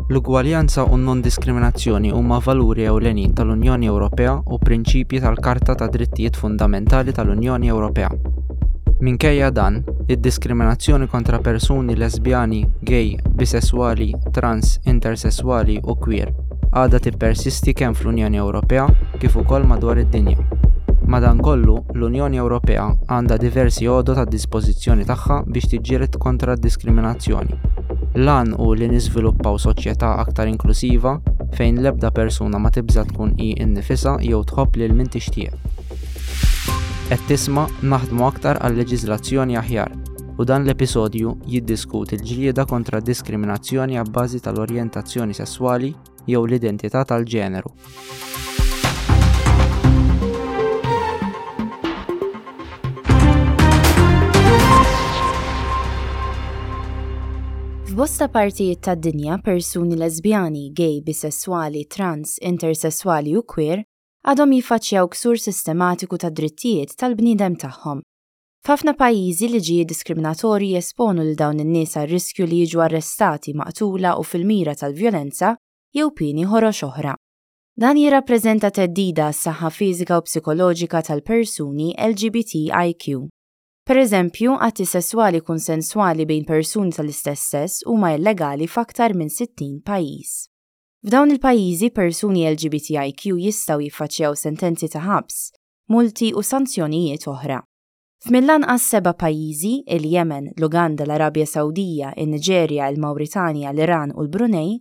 L-ugwaljanza u n-nondiskriminazzjoni huma valuri ewlenin tal-Unjoni Ewropea u prinċipji tal-Karta tad-Drittijiet Fundamentali tal-Unjoni Ewropea. Minkejja dan, id-diskriminazzjoni kontra persuni lesbjani, gay, bisesswali, trans, intersesswali u queer għadha tippersisti kemm fl-Unjoni Ewropea kif ukoll madwar id-dinja. Madankollu, l-Unjoni Ewropea għandha diversi għodod għad-dispożizzjoni tagħha biex tiġġieled kontra d-diskriminazzjoni. L-għan hu li niżviluppaw soċjetà aktar inklusiva fejn l-ebda persuna ma tibża' tkun hi nnifisha jew tħobb lil min tixtieq. Qed tisma' Naħdmu aktar għal leġiżlazzjoni aħjar u dan l-episodju jiddiskuti l-ġlieda kontra d-diskriminazzjoni abbażi tal-orjentazzjoni sesswali jew l-identità tal-ġeneru. F'bosta partijiet tad-dinja persuni lesbjani, gay, bisesswali, trans, intersesswali u queer għadhom jiffaċċjaw ksur sistematiku tad-drittijiet tal-bniedem tagħhom. F'ħafna pajjiżi liġijiet diskriminatorji jesponu lil dawn in-nies għar-riskju li jiġu arrestati, maqtula u fil-mira tal-vjolenza jew pieni ħorox oħra. Dan jirrappreżenta theddida għas-saħħa fiżika u psikoloġika tal-persuni LGBTIQ. Pereżempju, atti sesswali kunsenswali bejn persuni tal-istess sess huma illegali f'aktar minn 60 pajjiż. F'dawn il-pajjiżi, persuni LGBTIQ jistgħu jiffaċċjaw sentenzi ta' ħabs, multi u sanzjonijiet oħra. F'mill-anqas seba' pajjiżi, il-Jemen, l-Uganda, l-Arabja Sawdija, in-Niġerja, il-Mawritanja, l-Iran u l-Brunei,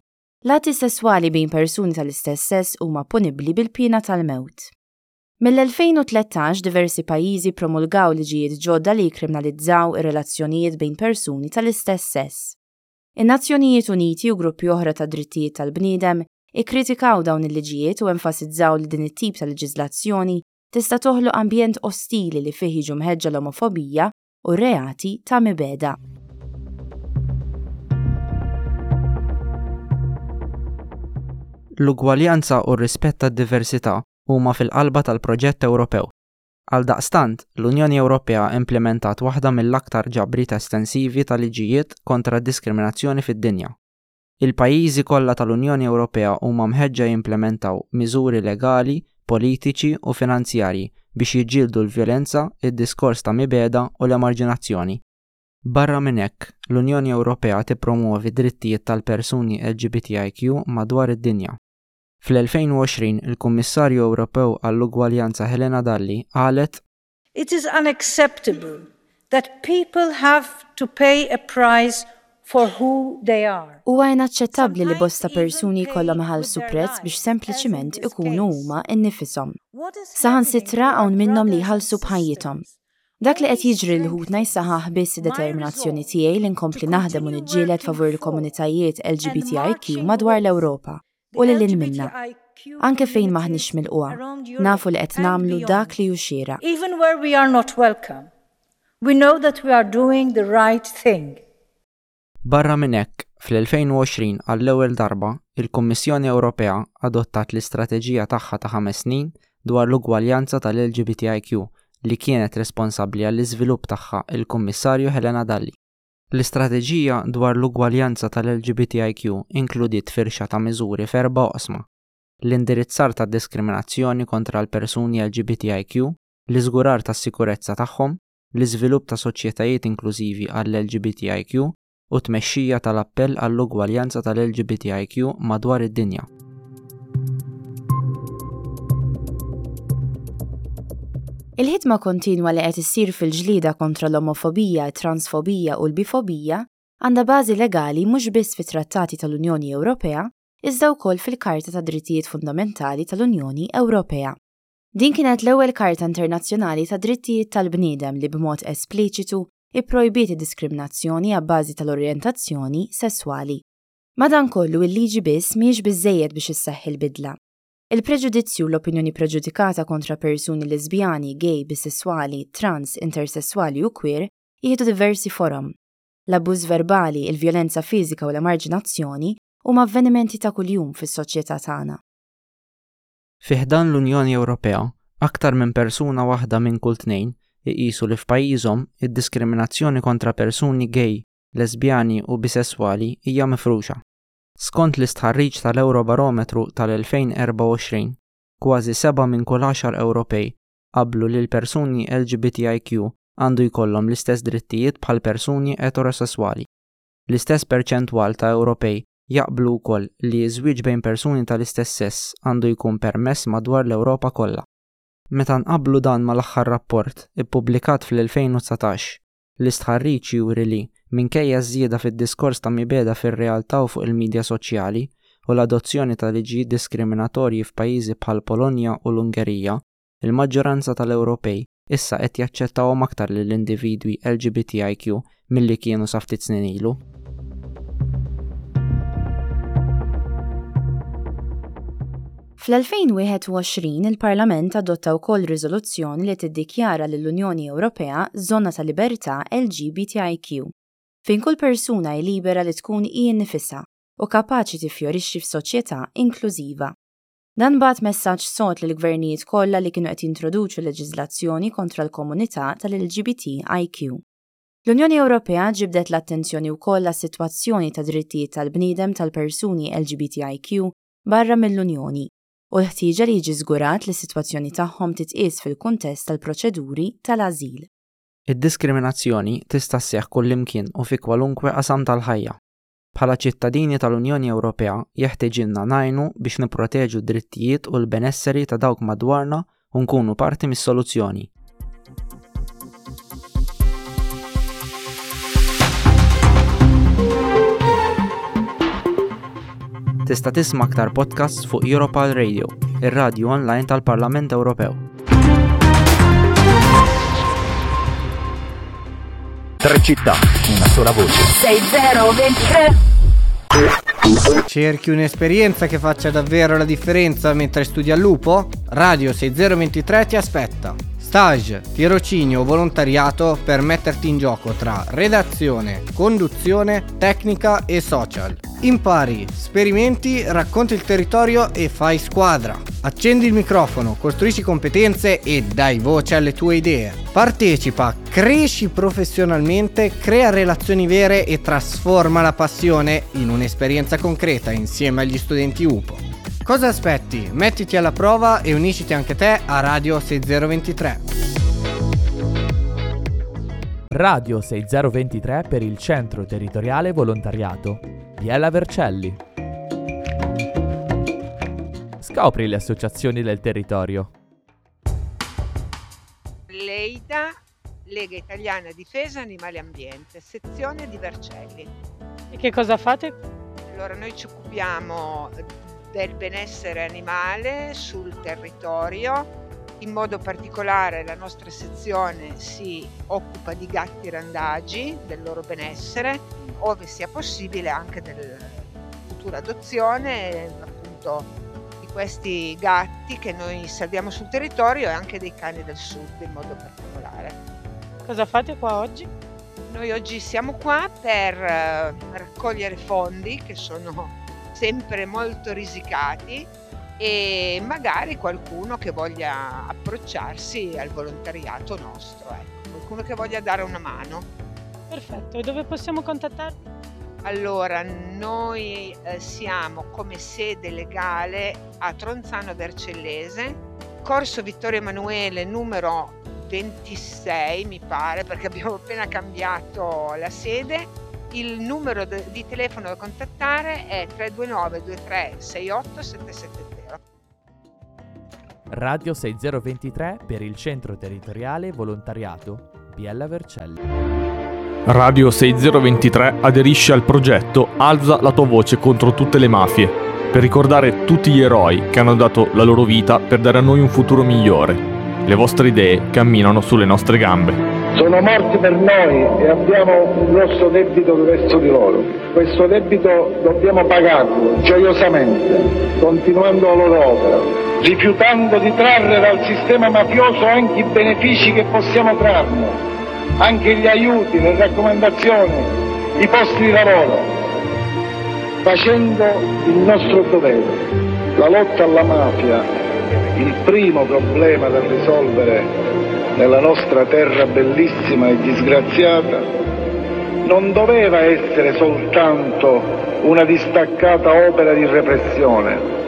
l-atti sesswali bejn persuni tal-istess sess huma punibbli bil-piena tal-mewt. Mill-2013 diversi pajjiżi ppromulgaw liġijiet ġodda li jikkriminalizzaw ir-relazzjonijiet bejn persuni tal-istess sess. In-Nazzjonijiet Uniti u gruppi oħra tad-drittijiet tal-bniedem ikkritikaw dawn il-liġijiet u enfasizzaw li din it-tip ta' leġiżlazzjoni tista' toħloq ambjent ostili li fih jiġu mħeġġa l-omofobija u r-reati ta' mibegħda. L-ugwaljanza u r-rispett tad-diversità huma fil-qalba tal-proġett Ewropew. Għaldaqstant, l-Unjoni Ewropea implimentat waħda mill-aktar ġabriet estensivi ta' liġijiet kontra d-diskriminazzjoni fid-dinja. Il-pajjiżi kollha tal-Unjoni Ewropea huma mħeġġa jimplementaw miżuri legali, politiċi u finanzjarji biex jiġġieldu l-vjolenza, id-diskors ta' mibegħda u l-emarġinazzjoni. Barra minn hekk, l-Unjoni Ewropea tippromwovi d-drittijiet tal-persuni LGBTIQ madwar id-dinja. Fl-2020, il-Kummissarju Ewropew għall-Ugwaljanza Helena Dalli qalet, It is unacceptable that people have to pay a price for who they are. Huwa inaċċettabbli li bosta persuni jkollhom iħallsu prezz biex sempliċiment ikunu huma nnifishom. Saħansitra hawn minnhom li jħallsu b'ħajjithom. Dak li qed jiġri lil ħutna jsaħħaħ biss id-determinazzjoni tiegħi li nkompli naħdem u niġġieled favur il-komunitajiet LGBTIQ madwar l-Ewropa u lil hinn minnha. Anke fejn m'aħniex milqugħa, nafu li qed nagħmlu dak li hu xieraq. Even where we are not welcome, we know that we are doing the right thing. Barra minn hekk, fl-2020 għall-ewwel darba, il-Kummissjoni Ewropea adottat l-istrateġija tagħha ta' ħames snin dwar l-ugwaljanza tal-LGBTIQ li kienet responsabbli għall-iżvilupp tagħha l-Kummissarju Helena Dalli. L-istrateġija dwar l-ugwaljanza tal-LGBTIQ inkludiet firxa ta' miżuri f'erba' oqsma, l-indirizzar tad-diskriminazzjoni kontra l-persuni LGBTIQ, l-iżgurar tas-sikurezza tagħhom, l-iżvilupp ta' soċjetajiet inklużivi għall-LGBTIQ u t-tmexxija tal-appell għall-ugwaljanza tal-LGBTIQ madwar id-dinja. Il-ħidma kontinwa li qed issir fil-ġlieda kontra l-omofobija, it-transfobija u l-bifobija għandha bażi legali mhux biss fit-Trattati tal-Unjoni Ewropea iżda wkoll fil-Karta tad-Drittijiet Fundamentali tal-Unjoni Ewropea. Din kienet l-ewwel karta internazzjonali tad-drittijiet tal-bniedem li b'mod espliċitu pprojbiet id-diskriminazzjoni abbażi tal-orjentazzjoni sesswali. Madankollu, il-liġi biss mhijiex biżżejjed biex isseħħ il-bidla. Il-preġudizzju u l-opinjoni preġudikata kontra persuni lesbjani, gay, bisesswali, trans, intersesswali u queer jieħdu diversi forom. L-abbuż verbali, il-vjolenza fiżika u l-emarġinazzjoni huma avvenimenti ta' kuljum fis-soċjetà tagħna. Fi ħdan l-Unjoni Ewropea, aktar minn persuna waħda minn kull tnejn iqisu li f'pajjiżhom id-diskriminazzjoni kontra persuni gay, lesbjani u bisesswali hija mifruxa. Skont l-istħarriġ tal-Ewrobarometru tal-2024, kważi seba' minn kull għaxar Ewropej qablu li l-persuni LGBTIQ għandu jkollhom l-istess drittijiet bħall-persuni eterosesswali. L-istess perċentwal ta' Ewropej jaqblu wkoll li ż-żwieġ bejn persuni tal-istess sess għandu jkun permess madwar l-Ewropa kollha. Meta nqabblu dan mal-aħħar rapport, ippubblikat fl-2019, L-istħarriġ juri li, minkejja ż-żieda fid-diskors ta' mibegħda fir-realtà u fuq il-midja soċjali, u l-adozzjoni ta' liġijiet diskriminatorji f'pajjiżi bħall-Polonja u l-Ungerija, il-maġġoranza tal-Ewropej issa qed jaċċettawhom aktar lill-individwi LGBTIQ milli kienu sa ftit snin ilu. Fl-2021 il-Parlament adotta wkoll riżoluzzjoni li tiddikjara lill-Unjoni Ewropea żona ta' libertà LGBTIQ, fejn kull persuna hi libera li tkun hi nnifisha u kapaċi tiffjorixxi f'soċjetà inklużiva. Dan bagħat messaġġ sod lill-gvernijiet kollha li kienu qed jintroduċu leġiżlazzjoni kontra l-komunità tal-LGBTIQ. L-Unjoni Ewropea ġibdet l-attenzjoni wkoll għas-sitwazzjoni tad-drittijiet tal-bniedem tal-persuni LGBTIQ barra mill-Unjoni u l-ħtieġa li jiġi żgurat li s-sitwazzjoni tagħhom titqies fil-kuntest tal-proċeduri tal-ażil. Id-diskriminazzjoni tista' sseħħ kullimkien u fi kwalunkwe qasam tal-ħajja. Bħala ċittadini tal-Unjoni Ewropea jeħtiġilna ngħinu biex nipproteġu d-drittijiet u l-benesseri ta' dawk madwarna u nkunu parti mis-soluzzjoni. Tista' tisma' aktar podcasts fuq Europal Radio, ir-radju online tal-Parlament Ewropew. Tre città, una sola voce. 6023 Cerchi un'esperienza che faccia davvero la differenza mentre studi all'UPO? Radio 6023 ti aspetta. Stage, tirocinio o volontariato per metterti in gioco tra redazione, conduzione, tecnica e social. Impari, sperimenti, racconti il territorio e fai squadra. Accendi il microfono, costruisci competenze e dai voce alle tue idee. Partecipa, cresci professionalmente, crea relazioni vere e trasforma la passione in un'esperienza concreta insieme agli studenti UPO. Cosa aspetti? Mettiti alla prova e unisciti anche te a Radio 6023. Radio 6023 per il Centro Territoriale Volontariato. Biella Vercelli. Scopri le associazioni del territorio. Leida, Lega Italiana Difesa Animali e Ambiente, sezione di Vercelli. E che cosa fate? Allora, noi ci occupiamo del benessere animale sul territorio, in modo particolare la nostra sezione si occupa di gatti randagi, del loro benessere, ove sia possibile anche della futura adozione, appunto, di questi gatti che noi salviamo sul territorio e anche dei cani del sud in modo particolare. Cosa fate qua oggi? Noi oggi siamo qua per raccogliere fondi che sono sempre molto risicati e magari qualcuno che voglia approcciarsi al volontariato nostro, ecco, qualcuno che voglia dare una mano. Perfetto, e dove possiamo contattarvi? Allora, noi siamo come sede legale a Tronzano Vercellese, Corso Vittorio Emanuele numero 26 mi pare, perché abbiamo appena cambiato la sede. Il numero di telefono da contattare è 329 23 68 770. Radio 6023 per il Centro Territoriale Volontariato Biella Vercelli. Radio 6023 aderisce al progetto Alza la tua voce contro tutte le mafie, per ricordare tutti gli eroi che hanno dato la loro vita per dare a noi un futuro migliore. Le vostre idee camminano sulle nostre gambe. Sono morti per noi e abbiamo un grosso debito verso di loro. Questo debito dobbiamo pagarlo gioiosamente, continuando la loro opera, rifiutando di trarre dal sistema mafioso anche i benefici che possiamo trarne, anche gli aiuti, le raccomandazioni, i posti di lavoro, facendo il nostro dovere. La lotta alla mafia, il primo problema da risolvere nella nostra terra bellissima e disgraziata, non doveva essere soltanto una distaccata opera di repressione,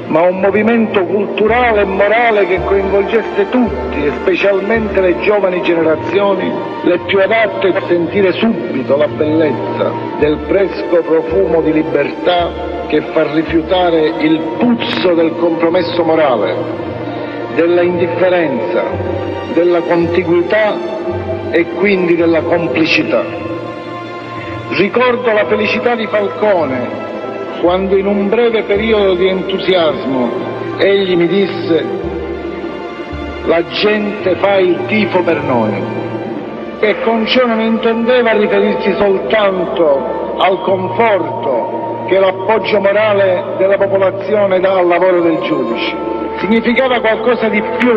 ma un movimento culturale e morale che coinvolgesse tutti e specialmente le giovani generazioni, le più adatte a sentire subito la bellezza del fresco profumo di libertà che fa rifiutare il puzzo del compromesso morale, della indifferenza, della contiguità e quindi della complicità. Ricordo la felicità di Falcone quando in un breve periodo di entusiasmo egli mi disse: la gente fa il tifo per noi. E con ciò non intendeva riferirsi soltanto al conforto che l'appoggio morale della popolazione dà al lavoro del giudice. Significava qualcosa di più.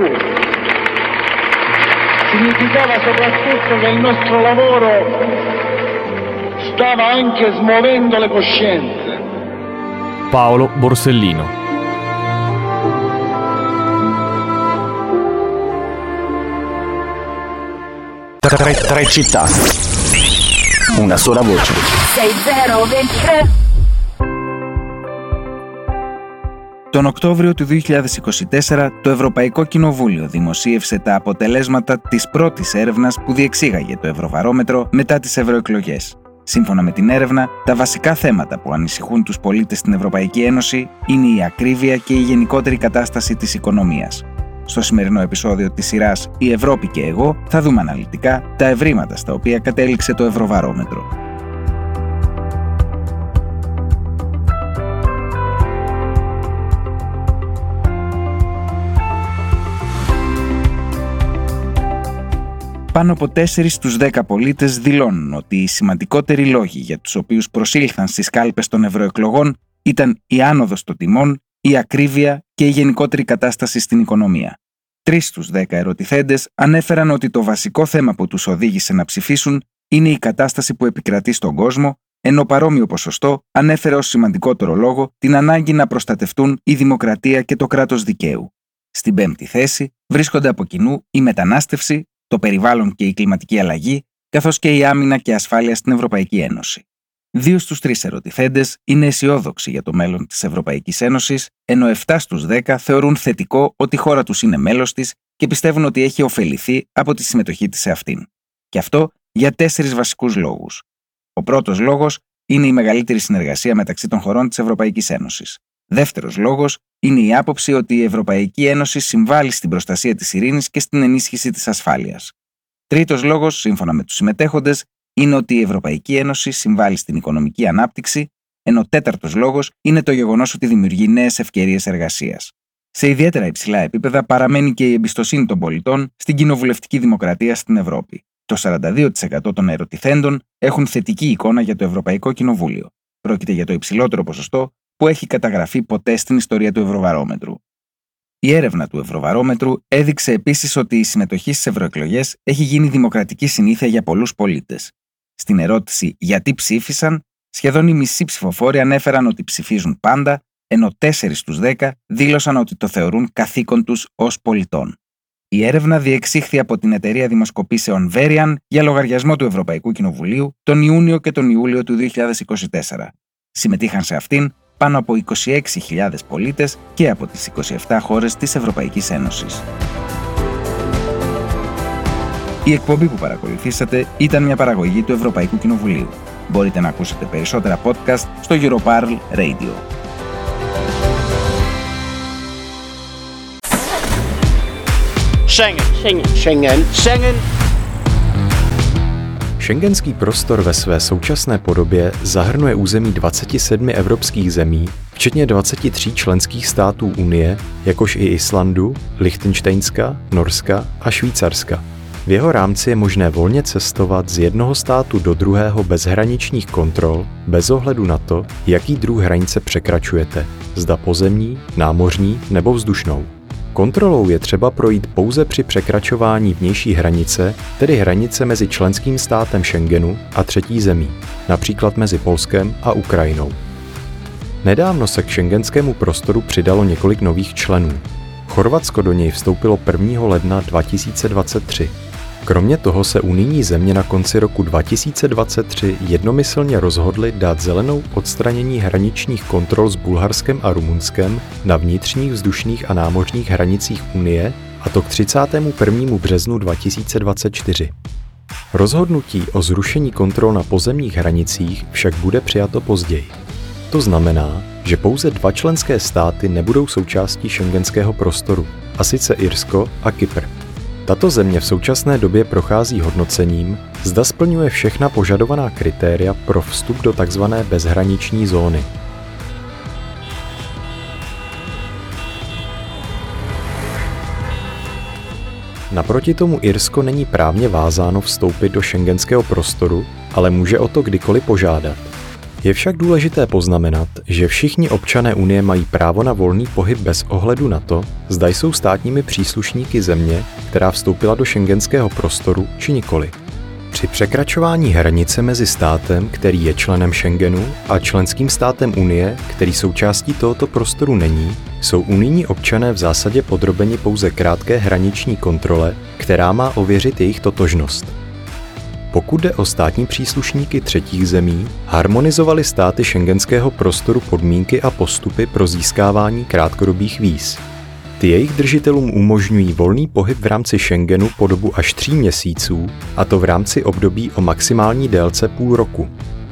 Significava soprattutto che il nostro lavoro stava anche smuovendo le coscienze. Paolo Borsellino. Tre città. Una sola voce. 6023. Τον Οκτώβριο του 2024, το Ευρωπαϊκό Κοινοβούλιο δημοσίευσε τα αποτελέσματα της πρώτης έρευνας που διεξήγαγε το Ευρωβαρόμετρο μετά τις ευρωεκλογές. Σύμφωνα με την έρευνα, τα βασικά θέματα που ανησυχούν τους πολίτες στην Ευρωπαϊκή Ένωση είναι η ακρίβεια και η γενικότερη κατάσταση της οικονομίας. Στο σημερινό επεισόδιο της σειράς «Η Ευρώπη και εγώ» θα δούμε αναλυτικά τα ευρήματα στα οποία κατέληξε το Ευρωβαρόμετρο. Πάνω από 4 στους 10 πολίτες δηλώνουν ότι οι σημαντικότεροι λόγοι για τους οποίους προσήλθαν στις κάλπες των ευρωεκλογών ήταν η άνοδος των τιμών, η ακρίβεια και η γενικότερη κατάσταση στην οικονομία. 3 στους 10 ερωτηθέντες ανέφεραν ότι το βασικό θέμα που τους οδήγησε να ψηφίσουν είναι η κατάσταση που επικρατεί στον κόσμο, ενώ παρόμοιο ποσοστό ανέφερε ως σημαντικότερο λόγο την ανάγκη να προστατευτούν η δημοκρατία και το κράτος δικαίου. Στην πέμπτη θέση βρίσκονται από κοινού η μετανάστευση, το περιβάλλον και η κλιματική αλλαγή, καθώς και η άμυνα και ασφάλεια στην Ευρωπαϊκή Ένωση. 2 στους 3 ερωτηθέντες είναι αισιόδοξοι για το μέλλον της Ευρωπαϊκής Ένωσης, ενώ 7 στους 10 θεωρούν θετικό ότι η χώρα τους είναι μέλος της και πιστεύουν ότι έχει ωφεληθεί από τη συμμετοχή της σε αυτήν. Και αυτό για 4 βασικούς λόγους. Ο πρώτος λόγος είναι η μεγαλύτερη συνεργασία μεταξύ των χωρών της Ευρωπαϊκής Ένωσης. Δεύτερος λόγος είναι η άποψη ότι η Ευρωπαϊκή Ένωση συμβάλλει στην προστασία της ειρήνης και στην ενίσχυση της ασφάλειας. Τρίτος λόγος, σύμφωνα με τους συμμετέχοντες, είναι ότι η Ευρωπαϊκή Ένωση συμβάλλει στην οικονομική ανάπτυξη, ενώ τέταρτος λόγος είναι το γεγονός ότι δημιουργεί νέες ευκαιρίες εργασίας. Σε ιδιαίτερα υψηλά επίπεδα παραμένει και η εμπιστοσύνη των πολιτών στην κοινοβουλευτική δημοκρατία στην Ευρώπη. Το 42% των ερωτηθέντων έχουν θετική εικόνα για το Ευρωπαϊκό Κοινοβούλιο. Πρόκειται για το υψηλότερο ποσοστό που έχει καταγραφεί ποτέ στην ιστορία του Ευρωβαρόμετρου. Η έρευνα του Ευρωβαρόμετρου έδειξε επίσης ότι η συμμετοχή στις ευρωεκλογές έχει γίνει δημοκρατική συνήθεια για πολλούς πολίτες. Στην ερώτηση «Γιατί ψήφισαν», σχεδόν οι μισοί ψηφοφόροι ανέφεραν ότι ψηφίζουν πάντα, ενώ 4 στους 10 δήλωσαν ότι το θεωρούν καθήκον τους ως πολιτών. Η έρευνα διεξήχθη από την εταιρεία δημοσκοπήσεων Verian για λογαριασμό του Ευρωπαϊκού Κοινοβουλίου τον Ιούνιο και τον Ιούλιο του 2024. Συμμετείχαν σε αυτήν πάνω από 26.000 πολίτες και από τις 27 χώρες της Ευρωπαϊκής Ένωσης. Η εκπομπή που παρακολουθήσατε ήταν μια παραγωγή του Ευρωπαϊκού Κοινοβουλίου. Μπορείτε να ακούσετε περισσότερα podcast στο Europarl Radio. Schengen. Schengen. Schengen. Schengen. Schengenský prostor ve své současné podobě zahrnuje území 27 evropských zemí, včetně 23 členských států Unie, jakož i Islandu, Lichtenštejnska, Norska a Švýcarska. V jeho rámci je možné volně cestovat z jednoho státu do druhého bez hraničních kontrol, bez ohledu na to, jaký druh hranice překračujete, zda pozemní, námořní nebo vzdušnou. Kontrolou je třeba projít pouze při překračování vnější hranice, tedy hranice mezi členským státem Schengenu a třetí zemí, například mezi Polskem a Ukrajinou. Nedávno se k schengenskému prostoru přidalo několik nových členů. Chorvatsko do něj vstoupilo 1. ledna 2023. Kromě toho se unijní země na konci roku 2023 jednomyslně rozhodly dát zelenou odstranění hraničních kontrol s Bulharskem a Rumunskem na vnitřních vzdušných a námořních hranicích Unie, a to k 31. březnu 2024. Rozhodnutí o zrušení kontrol na pozemních hranicích však bude přijato později. To znamená, že pouze dva členské státy nebudou součástí schengenského prostoru, a sice Irsko a Kypr. Tato země v současné době prochází hodnocením, zda splňuje všechna požadovaná kritéria pro vstup do tzv. Bezhraniční zóny. Naproti tomu Irsko není právně vázáno vstoupit do schengenského prostoru, ale může o to kdykoliv požádat. Je však důležité poznamenat, že všichni občané Unie mají právo na volný pohyb bez ohledu na to, zda jsou státními příslušníky země, která vstoupila do schengenského prostoru, či nikoli. Při překračování hranice mezi státem, který je členem Schengenu, a členským státem Unie, který součástí tohoto prostoru není, jsou unijní občané v zásadě podrobeni pouze krátké hraniční kontrole, která má ověřit jejich totožnost. Pokud jde o státní příslušníky třetích zemí, harmonizovaly státy schengenského prostoru podmínky a postupy pro získávání krátkodobých víz. Ty jejich držitelům umožňují volný pohyb v rámci Schengenu po dobu až 3 měsíců, a to v rámci období o maximální délce půl roku.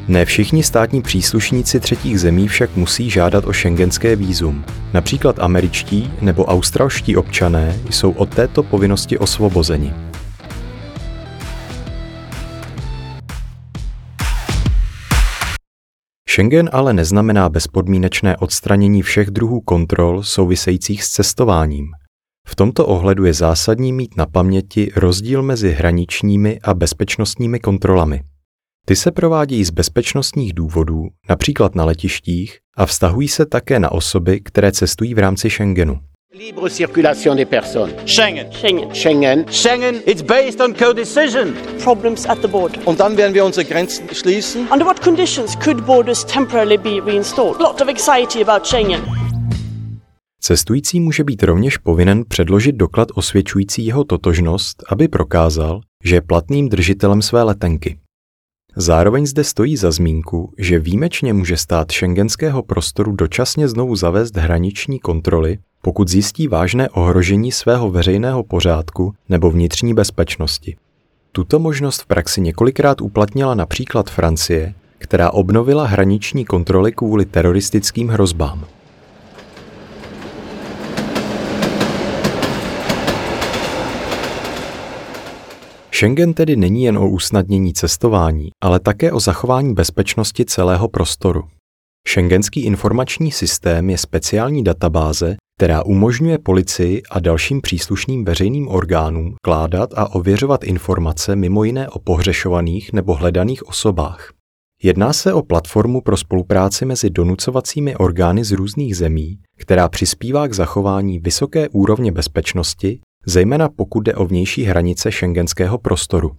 Ne všichni státní příslušníci třetích zemí však musí žádat o schengenské vízum. Například američtí nebo australští občané jsou od této povinnosti osvobozeni. Schengen ale neznamená bezpodmínečné odstranění všech druhů kontrol souvisejících s cestováním. V tomto ohledu je zásadní mít na paměti rozdíl mezi hraničními a bezpečnostními kontrolami. Ty se provádějí z bezpečnostních důvodů, například na letištích, a vztahují se také na osoby, které cestují v rámci Schengenu. Libre circulation des personnes. Schengen. Schengen. Schengen. Schengen. It's based on co-decision. Problems at the border. Und dann werden wir unsere Grenzen schließen. Under what conditions could borders temporarily be reinstalled? Lot of anxiety about Schengen. Cestující může být rovněž povinen předložit doklad osvědčující jeho totožnost, aby prokázal, že je platným držitelem své letenky. Zároveň zde stojí za zmínku, že výjimečně může stát schengenského prostoru dočasně znovu zavést hraniční kontroly, pokud zjistí vážné ohrožení svého veřejného pořádku nebo vnitřní bezpečnosti. Tuto možnost v praxi několikrát uplatnila například Francie, která obnovila hraniční kontroly kvůli teroristickým hrozbám. Schengen tedy není jen o usnadnění cestování, ale také o zachování bezpečnosti celého prostoru. Schengenský informační systém je speciální databáze, která umožňuje policii a dalším příslušným veřejným orgánům vkládat a ověřovat informace mimo jiné o pohřešovaných nebo hledaných osobách. Jedná se o platformu pro spolupráci mezi donucovacími orgány z různých zemí, která přispívá k zachování vysoké úrovně bezpečnosti, zejména pokud jde o vnější hranice schengenského prostoru.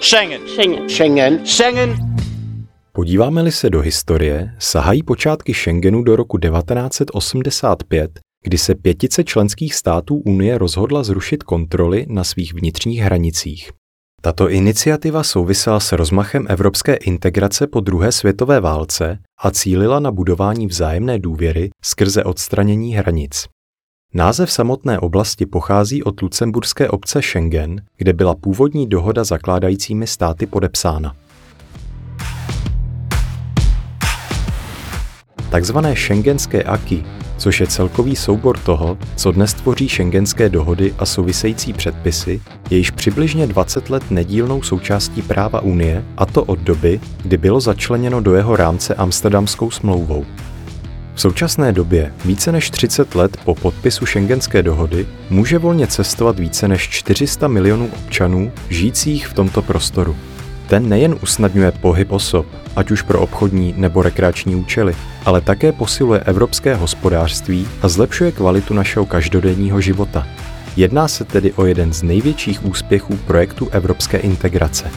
Schengen. Schengen. Schengen. Schengen. Podíváme-li se do historie, sahají počátky Schengenu do roku 1985, kdy se pětice členských států Unie rozhodla zrušit kontroly na svých vnitřních hranicích. Tato iniciativa souvisela s rozmachem evropské integrace po druhé světové válce a cílila na budování vzájemné důvěry skrze odstranění hranic. Název samotné oblasti pochází od lucemburské obce Schengen, kde byla původní dohoda zakládajícími státy podepsána. Takzvané schengenské acquis, což je celkový soubor toho, co dnes tvoří schengenské dohody a související předpisy, je již přibližně 20 let nedílnou součástí práva Unie, a to od doby, kdy bylo začleněno do jeho rámce Amsterdamskou smlouvou. V současné době, více než 30 let po podpisu schengenské dohody, může volně cestovat více než 400 milionů občanů žijících v tomto prostoru. Ten nejen usnadňuje pohyb osob, ať už pro obchodní nebo rekreační účely, ale také posiluje evropské hospodářství a zlepšuje kvalitu našeho každodenního života. Jedná se tedy o jeden z největších úspěchů projektu evropské integrace.